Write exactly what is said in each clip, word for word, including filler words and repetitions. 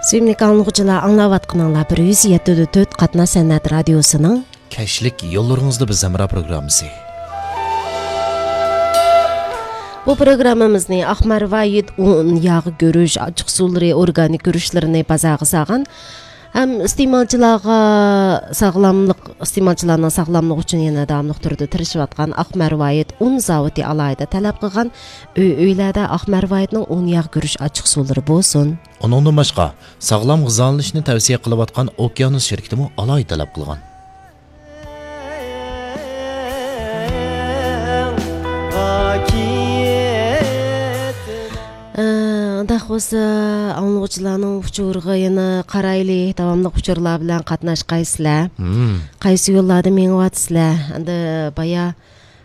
Сүйүмдүү аңлыгычылар, аңлап атканыңлар бир жүз жети төрт катна санат радиосунун Кәшлек yollarыңызды біз замра программасы. Бу программамызны Ахмар Вайит un ягы көрүш, ачык суулары, органик көрүшлөрүнө базагы саган һәм истемалчыларга сагламлык, истемалчыларның сагламлыгы үчүн яна дәвамлык түрдө тырышып аткан Ахмар Вайит un заводы алайда талап кылган өйләрдә Ахмар Вайтның un ягы көрүш, ачык суулары болсун. Онундан башка саглам гызаланышны тәвсия кылып аткан Океанус şirketi мо алай талап кылган. Дахосы аңлыгычыларның учурга яна карайлы, давамлык учурлар белән катнашкайсызлар. Кайсы юлларда меңип атсызлар? Анда бая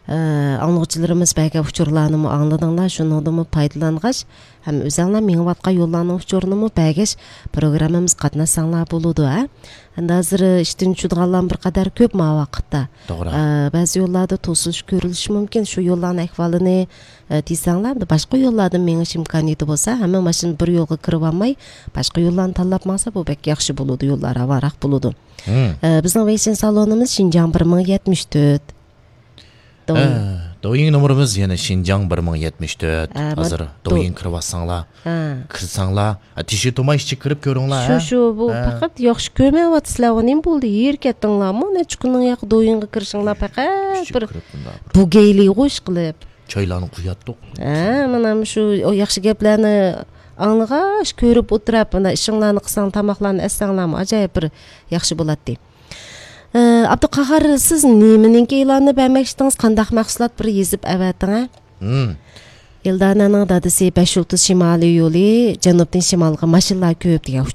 аңлыгычыларыбыз бәйге учурларны аңладыңлар, шундый пайдалангач, һәм үзеңләр меңип аткан юлларның учурны бәйгеш программабыз катнашсаңлар булуды, а? Анда азыр иштин чудганлар бир кадар көп ма вакытта. Бәзи юлларда тосылыш көрүлүшү мүмкүн. Шу юлларның ахвалыны тийсаңлар, башка юллардан меңиш имканияты болса, һәм машин бир жолга кирип алмай, башка юлларны талап маса, бу бек яхшы болуду, юллар аварак болуду. Биздин вейсен салонубуз Шинжаң bir ming yetmiş dört. Доюң номерimiz yana Шинжаң bir ming yetmiş dört. Азыр доюң кирип атсаңлар, кирсаңлар, тиши томай ичи кирип көрүңлар. Шу-шу, бу факат яхшы көрмөп атсызлар, нем болду? Эркеттиңлармы? Нечкүнүң як доюңга киришиңлар факат бир бу гейли гош кылып. Чайланы куяттык. А, мына шу яхшы геплерни аңлагаш, көрүп отурап, мына ишиңларны кылсаң, тамакларны эссеңлармы, ажайып бир яхшы болот дейт. Абдукахар, сиз неменен кейланы бәмәкчитиңиз, кандай максулат бир езип әвәтиң, а? Элдананың дадысы beş yıldız Şimali yolu, Janubdan Şimalga машиналар көп деген